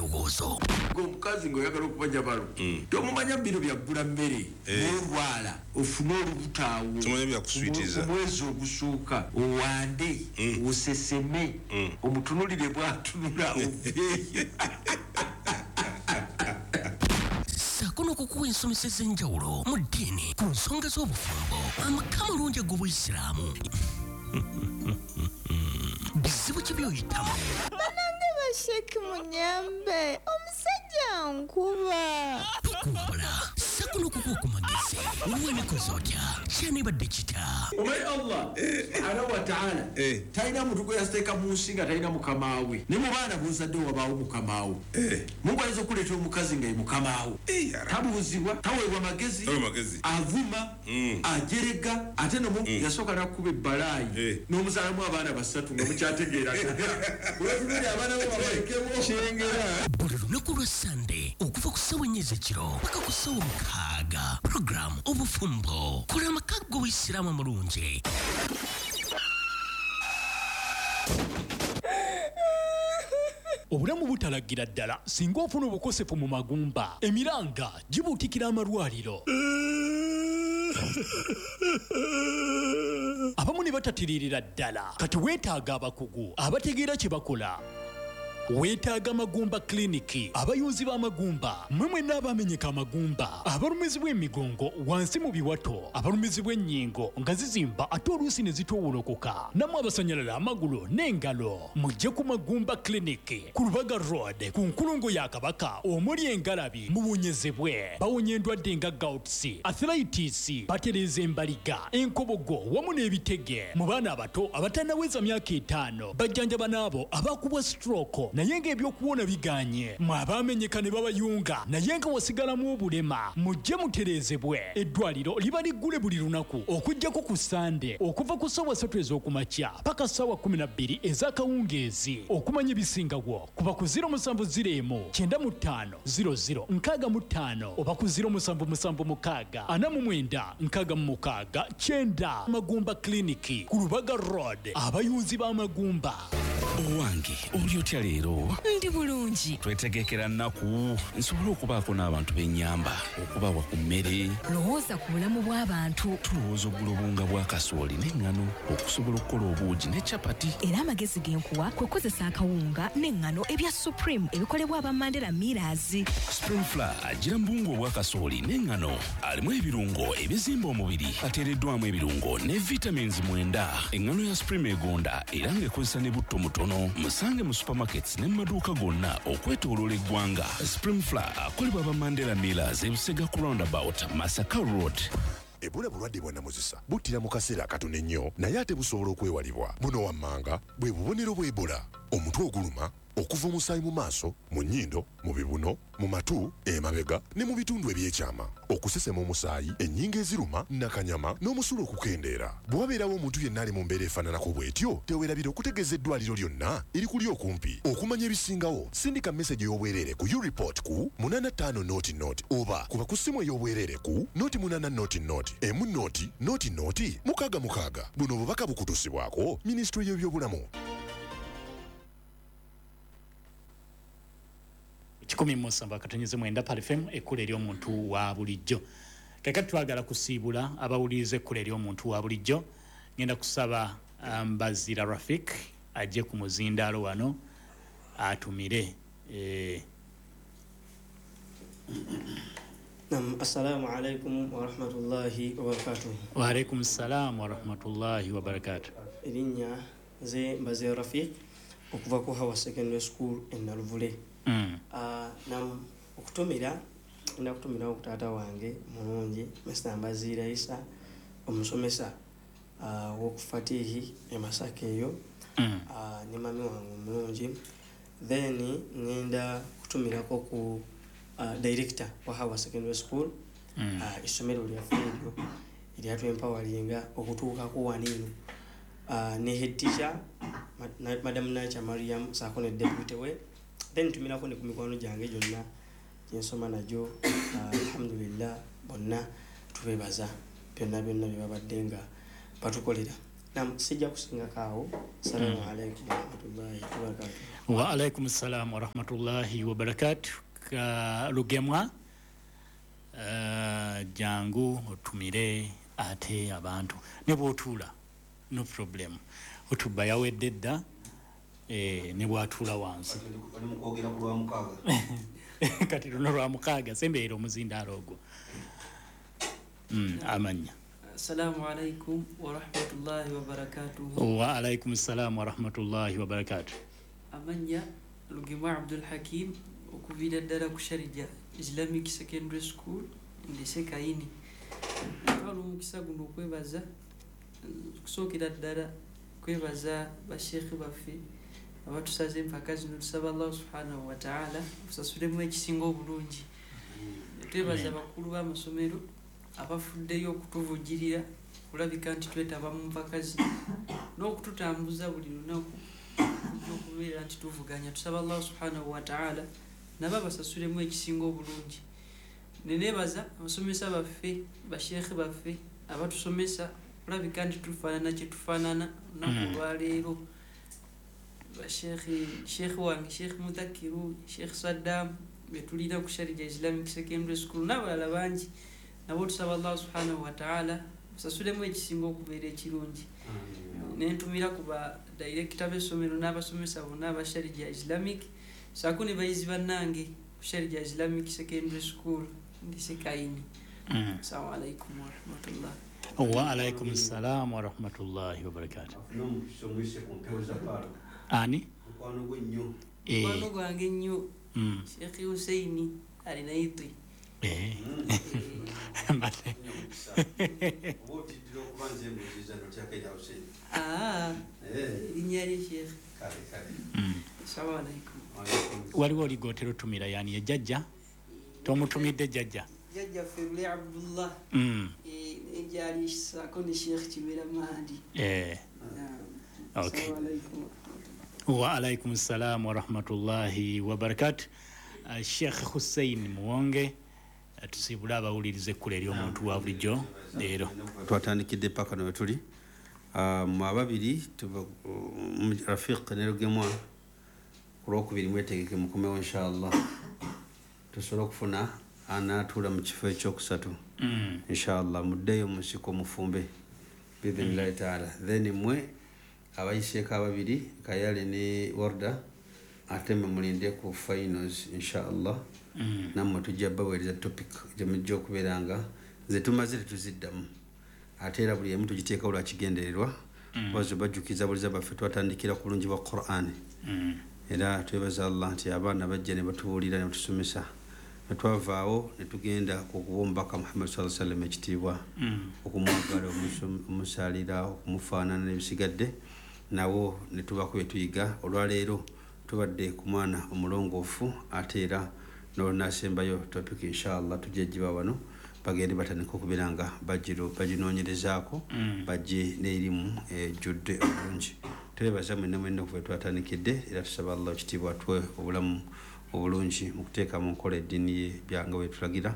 ebirowoozo. Omukazi ng'oyagala okuba jabalo, tomumanya bino byaggula mmere, n'olwala ofune olubuto awo. Tomanya byakuswitiza. Omwezi ogusooka owande, oseseme, omutunulire bw'atunula oveeyo. Ssaako n'okukuwa ensomesa ez'enjawulo mu ddiini ku nsonga z'obufumbo, amaka amalungi ag'Obuyisiraamu. Bizibu ki by'oyitamu? Banange basheki munyambe, omusajja nkuba. Tukuwabula ssaako n'okukuwa ku magezi. Weekoze otya? Kyanibadde kita? Omanyi Allah subhanahu wa ta'ala talina muntu gwe yateeka mu nsi nga talina mukamaawe. Ne mu baana b'ozadde wabaawo mukamaawo. Mungu ayinza okuleetera omukazi nga ye mukamaawo. Tabuuzibwa, taweebwa magezi, avuma, ajerega, ate no yasooka n'akuba ebbalaayi n'omuzaalamu abaana basatu nga mukyategeeragana. Weetunulira abaana bo babalekewo. Kyengera. Buli lunaku lwa Sande okuva ku ssaawa 4 ez'ekiro paka ku ssaawa 6, puroguramu Obufumbo, kola amaka g'Obuyisiraamu amalungi. Obulamu butalagira ddala singa ofuna obukosefu mu magumba, emiranga gibuutikira amalwaliro. Abamu ne batatiririra ddala. Kati weetaaga abakugu abategeera kye bakola. Weetaaga Magumba Clinic, abayunzi b'amagumba, mmwe mwenna abamenyeka amagumba, abalumizibwa emigongo wansi mu biwato, abalumizibwa ennyingo nga zizimba ate oluusi ne zitoowolokoka, nammwe abasanyalala amagulu n'engalo, mujje ku Magumba Clinic ku Lubaga Road ku nkulungo ya Kabaka omuli engalabi, muwonyezebwe. Bawonya endwadde nga gouts, arthritis, batereeza embaliga, enkobogo wamu n'ebitege. Mu baana abato abatannaweza myaka 5, bajjanjaba n'abo abakubwa stroke naye ng'ebyokuwona biganye. Mwe abaamenyeka ne babayunga naye nga wasigalamu obulema, mujje mutereezebwe. Eddwaliro liba liggule buli lunaku okuggyako ku Sande okuva ku ssaawa 3 ez'okumakya paka ssaawa 12 ez'akawungeezi. Okumanya ebisingawo kuba ku 0701 95 00 65 oba ku 0776 49 66 9. Magumba Clinic ku Lubaga Road, abayunzi b'amagumba. Owange, oli otya leero? Ndi bulungi. Twetegekera nnaku nsobole okubaako n'abantu b'ennyamba, okubawa ku mmere. Lowooza ku bulamu bw'abantu. Tulowooza okugula obuwunga bwa kasooli n'eŋŋano okusobola okukola obuugi ne capati. Era amagezi ge nkuwa kwe kukozesa akawunga n'eŋŋano ebya Supreme ebikolebwa aba Mandela Millers. Supreme Flour agira mu buwunga obwa kasooli n'eŋŋano, alimu ebirungo ebizimba omubiri, ateereddwamu ebirungo ne vitamins 9. Eŋŋano ya Supreme egonda era ng'ekozesa ne butto mutono. Musange mu supermarkets ne mu maduuka gonna okwetooloola eggwanga. Supreme Flour akolebwa aba Mandela Millers e Busega ku roundabout Masaka Road. Ebola bulwadde bwa namuzisa, buttira mu kaseera akatono ennyo naye ate busobola okwewalibwa. Buno wammanga bwe bubonero bwa Ebola: omutwe oguluma, okuva omusaayi mu maaso, mu nnyindo, mu bibuno, mu matu, emabega ne mu bitundu ebyekyama, okusesema omusaayi, ennyingo eziruma, nakanyama n'omusulo okukendeera. Bwe wabeerawo omuntu yenna ali mu mbeera efaananako bw'etyo, teweerabira okutegeeza eddwaliro lyonna erikuli okumpi. Okumanya ebisingawo, sindika meseji ey'obwereere ku ureport ku 85 0 0 oba kuba ku ssimu ey'obwereere ku 08 0 0 1 0 0 0 6 6. Buno obubaka bukutuusibwako Minisitule y'Ebyobulamu. 107.9 Pearl FM, ekkula ery'omuntu wa bulijjo. Kakati twagala kusiibula abawuliriza ekkula ery'omuntu wa bulijjo. Ngenda kusaba Mbazira Rafik ajje ku muzindaalo wano atumire. Nam, assalamu alaikum wa rahmatullahi wa barakatuh. Wa alaikum salam wa rahmatullahi wa barakatuh. Erinnya nze Mbazira Rafik okuva ku Hawa Secondary School e Naluvule. Nam, okutumira, ngenda kutumirawo ku taata wange mulungi Mr. Mbazira Isa, omusomesa w'oku Fatihi e Masaka eyo, ne mami wange omulungi. Then ngenda kutumirako ku director wa Hawa Secondary School, essomero lyaffe eryo eryatwempawalinga okutuukako wano eno, ne head teacher Madam Nacha Mariam saako ne deputy we. Then ntumirako ne ku mikwano gyange gyonna gyensoma nagyo. Alhamdulillah, bonna tubebaza byonna byonna bye babadde nga batukolera. Nam, sijja kusingako Assalamu alaikum warahmatullahi wabarakatuh. Wa alaikum assalam warahmatullahi wabarakatuh. Lugemwa, jangu otumire ate abantu ne bw'otuula, no problem. Otuba yawedde dda, ne bw'atuula wansi. Kati luno lwa mukaaga, sembeera omuzindaalo ogwo. Amannya. Assalamu alaikum warahmatullahi wabarakatuh. Wa alaikum assalam warahmatullahi wabarakatuh. Amannya Lugemwa Abdul Hakim, okuviira ddala ku Sharjah Islamic Secondary School ndese Kayini. Twala omukisa guno okwebaza, okusookera ddala kwebaza basheekhe baffe abatusaze empaka zino. Tusaba Allah subhanahu wa ta'ala osasulemu ekisinga obulungi. Twebaza abakulu b'amasomero abafuddeyo okutuvujjirira kulabika nti twetaba mu mpaka zino n'okututambuza buli lunaku okubeera nti tuvuganya. Tusaba Allah subhanahu wa ta'ala nabo abasasulemu ekisinga obulungi. Neneebaza abasomesa baffe, basheekhe baffe abatusomesa kulabika nti tufaanana kye tufaanana olunaku olwaleero. Basheekhe, sheekhe wange Sheekh Mudhakiru, Sheekh Saddam betulina ku Sharjah Islamic Secondary School n'abalala bangi, nabo tusaba Allah subhanahu wa ta'ala osasulemu ekisinga okubeera ekirungi. Nentumira ku ba director b'essomero n'abasomesa bonna aba Sharjah Islamic saako ne bayizi bannange ku Sharjah Islamic Secondary School ndise Kayini. Assalamu alaikum warahmatullah. Wa alaikum assalam warahmatullahi wabarakatuh. Ani? Mukwano gwange nnyo Sheikh Hussein Alinaitwi. Erinnya lye Sheikh. Assalamu alaikum. Waliwo oligotera otumira yani ye jjajja? Tomutumidde jjajja? Jjajja Ferule Abdullah. Ejjali saako ne Sheikh Kimera Mahdi. Okay. Wa alaikum assalam warahmatullahi wabarakatuh. Sheikh Hussein Muwonge, tusibula abawuliriza ekkula ery'omuntu wa bulijjo leero. Twatandikidde paka no wetuli mu ababiri, Rafiq ne Lugemwa, ku lwokubiri mwetegeke mukomewo inshallah, tusobole okufuna anaatuula mu kifo ekyokusatu. Inshallah muddeyo mu nsiko mufumbe biidhinillahi taala. Then mwe abayiseeko ababiri Kayale ne Warda, ate mwe mulinde ku finals inshallah. Nammwe tujja baweereza topic gye mujja okubeera nga nze tumaze tetuziddamu, ate era buli emu tugiteekawo lwa kigendererwa. Kubazo bajjukiza buliza baffe twatandikira ku bulungi bwa Qur'an. Era twebaza Allah nti abaana bajja ne batubuulira ne batusomesa, ne twavaawo ne tugenda ku kuwa omubaka Muhammad sallallahu alaihi wasallam ekitiibwa, okumwagala, omusalira, okumufaanana n'ebisigadde, nabo ne tubako bye tuyiga. Olwaleero tubadde ku mwana omulongoofu, ate era n'olunasembayo topic inshallah tujja giba wano bagende batandika okubeera nga baginoonyerezaako, bajje n'erimu ejjudde obulungi. Twebaza mwenna mwenna okuva twatandikidde, era tusaba Allah ekitiibwa atuwe obulamu obulungi mu kuteeka mu nkola eddiini ye byanga bwe tulagira.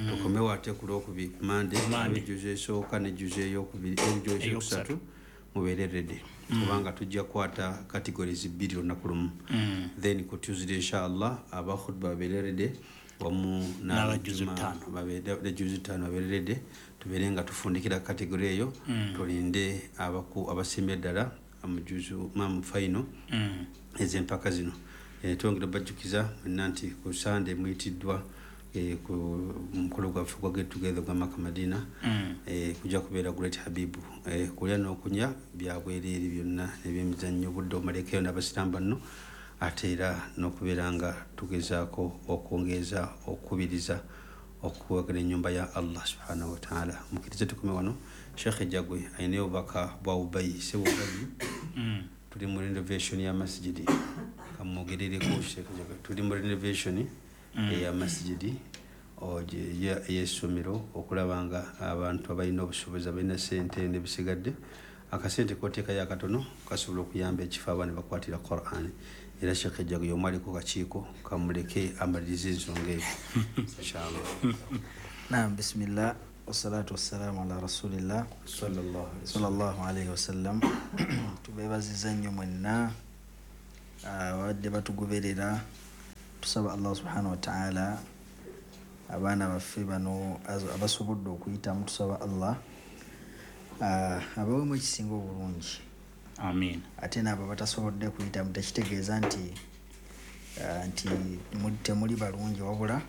Tukomewo ate ku lwokubiri Mande, ejjuzo esooka n'ejjuzo eyokubiri, ejjuzo eyokusatu mubeere ready, kubanga tujja kukwata categories bbiri olunaku lumu. Then ku Tuesday inshallah aba khutba babeere ready wamu n'abajjuzo ttaano babeere ready, tubeere nga tufundikira category eyo, tulinde abasimbye ddala amujuzu mamu final ez'empaka zino. Twongera bajjukiza mwenna nti ku Sunday muyitiddwa ku mukolo gwaffe gwa Get Together gwa Maka Madina, kujja kubeera Great Habibu, kulya n'okunywa byabwereere byonna ebyemizannyo, obudde omalekeyo n'abasiraamu banno, ate era n'okubeera nga tugezaako okwongeza okukubiriza okuwagala ennyumba ya Allah subhanahu wa ta'ala. Mukkirize tukome wano. Sheikh Jagwe alina obubaka bwa Ubayi, Ssebo Ubayi, tuli mu renovation ya masjidi, kamwogerereko Sheikh Jagwe. Tuli mu renovation eya masjidi ey'essomero, okulaba nga abantu abalina obusobozi, abalina ssente n'ebisigadde, akasente k'oteekayo akatono kasobola okuyamba ekifo abaana bakwatira Qur'an. Era Sheikh Jagwe y'omu aliko kakiiko, kamuleke amalirize ensonga eyo inshallah. Naam, bismillah. Wassalatu wassalamu ala rasulillah sallallahu alayhi wasallam. Tubeebaziza nnyo mwenna abadde batugoberera. Tusaba Allah subhanahu wa ta'ala abaana baffe bano abasobodde okuyitamu, tusaba Allah abawemu ekisinga obulungi. Amin. Ate n'abo batasobodde kuyitamu tekitegeeza nti temuli balungi, wabula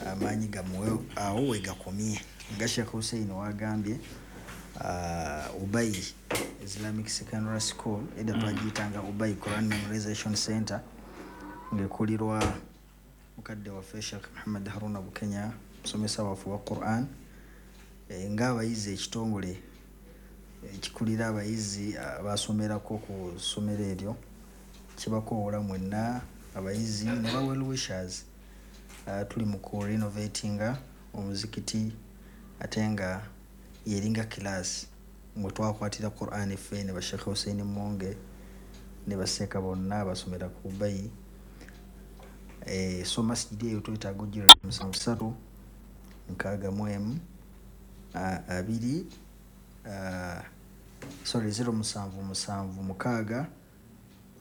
amaanyi gamuwe awo we gakomye. Nga Sheikh Hussein wagambye, Ubayi Islamic Secondary School edda twagiyitanga Ubayi Quran Memorization Center, ng'ekulirwa mukadde waffe Sheikh Muhammad Haruna Bukenya, musomesa waffe wa Quran. Ng'abayizi ekitongole ekikulira abayizi abasomerako ku ssomero eryo kibakoowola mwenna abayizi ne ba well wishers. Tuli mu ku renovatinga omuzikiti, ate nga yeringa class mwe twakwatira Quran ffe ne ba Sheikh Hussein Mwonge ne baseeka bonna abasomera ku Ubayi. So masjidi eyo twetaaga ogira 73 61 2 sorry 0776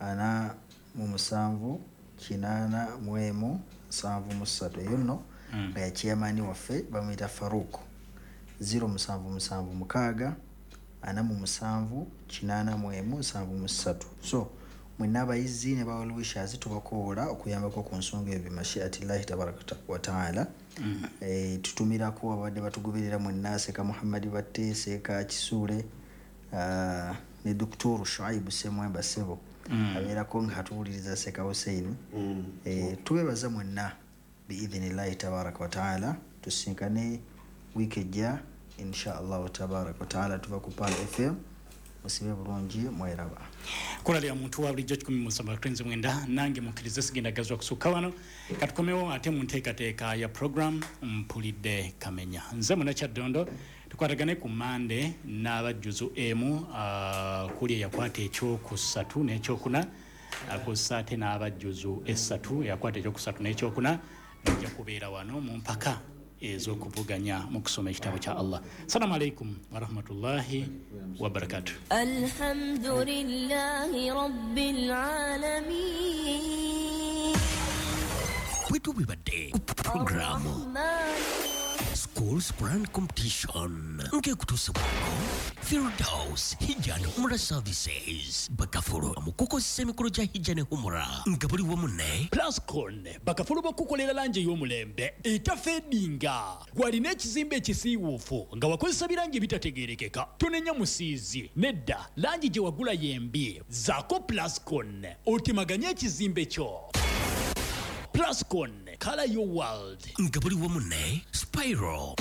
47 81 73. Eyo nno nga ya chairman waffe bamuyita Farouk. 0776 47 81 73. So mwenna abayizi ne ba well wishers tubakoola okuyambako ku nsonga ebyo mashiatillahi tabaraka wa taala. Tutumirako abadde batugoberera mwenna, Seeka Muhammad Batte, Seeka Kisuule, ne Dr. Shuaibu Semwemba Sebo abeerako nga atuwuliriza Seeka Hussein. Tubebaza mwenna biidhinillahi tabaraka wa taala. Tusinkane wiiki ejja insha allahu tabaraka wa taala. Tuva ku Pearl FM. Musibe bulungi, mweraba. Kola lya muntu wa bulijjo 17 nange mukkirize sigenda gazwa kusukka wano. Katukomewo ate mu nteekateeka ya program Mpulidde Kamenya. Nze Munnakyaddondo, tukwatagane ku Mande n'abajjuzu emu kuli eyakwata ekyokusatu n'ekyokuna, akosa ate n'abajjuzu esatu eyakwata ekyokusatu n'ekyokuna bajja kubeera wano mu mpaka ez'okuvuganya mu kusoma ekitabo kya Allah. Assalamu alaikum warahmatullahi wabarakatuh. Alhamdulillahi rabbil alamin. Bwetu bibadde programu Schools Quran Competition ng'ekutuusibwako Firdaus Hijja and Umrah Services, bakafulu mu kukozesa emikolo gya Hijja ne Umrah nga buli wamu ne Plascon, bakafulu bakukolera langi ey'omulembe etafeedinga. Gwalina ekizimbe ekisiiwuufu nga wakozesa birangi ebitategeerekeka, tonenya musiizi nedda, langi gye wagula yembi. Zaako Plascon otemaganye ekizimbe kyo. Plascon, color your world. Nga buli wamu ne Spiral,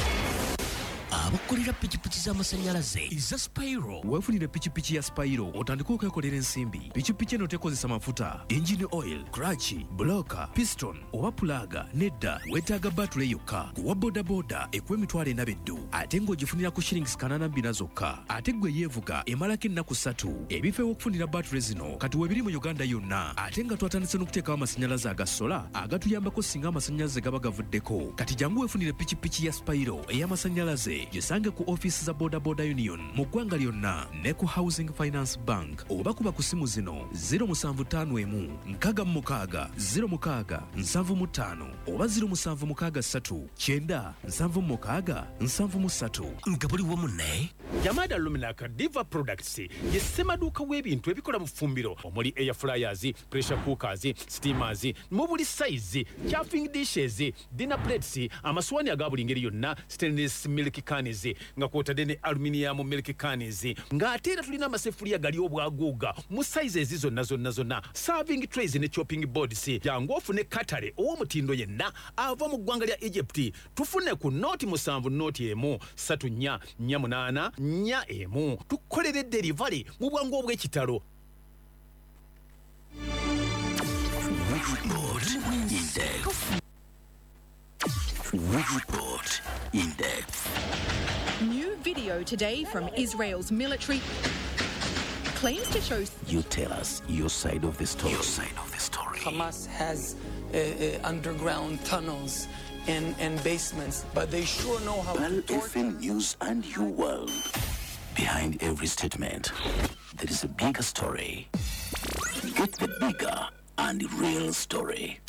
abakolera pikipiki z'amasannyalaze eza Spiro. Weefunire pikipiki ya Spiro otandike okwekolera ensimbi. Pikipiki eno tekozesa mafuta, engine oil, clutch, bloka, piston oba pulaga. Nedda, weetaaga batule yokka. Kuwa bodaboda ekuwa 40,000 beddu, ate ng'ogifunira ku shillings 84 zokka. Ate gwe yeevuga emalako ennaku 3. Ebifo ew'okufunira batule zino kati weebiri mu Uganda yonna, ate nga twatandise n'okuteekawo amasannyalaze aga sola agatuyambako singa amasannyalaze gaba gavuddeko. Kati jangu weefunire pikipiki ya Spiro ey'amasannyalaze, gisange ku ofiisi za Boda Boda Union mu ggwanga lyonna ne ku Housing Finance Bank, oba kuba ku simu zino 0751 66 06 75 oba 0763 9 76 73. Nga buli wamu ne Jamada Luminaka Diva Products ye ssemaduuka w'ebintu ebikola mu ffumbiro omuli air fryers, pressure cookers, steamers mu buli size, chafing dishes, dinner plates, amaswani aga buli ngeri yonna, stainless milk cans nga kwotadde ne aluminium milk cans, ng'ate era tulina amaseffuliya gali obwaguuga mu sizes zonna zonna zonna, serving trays ne chopping boards. Jangu ofune katale ow'omutindo yenna ava mu ggwanga lya Egypt. Tufune ku 07 01 34 48 41. Tukolere delivery mu bwangu obw'ekitalo. Report in depth. New video today from Israel's military claims to show. You tell us your side of the story. Your side of the story. Hamas has underground tunnels and basements, but they sure know how Pearl to torture. FM News and Your World. Behind every statement, there is a bigger story. Get the bigger and real story.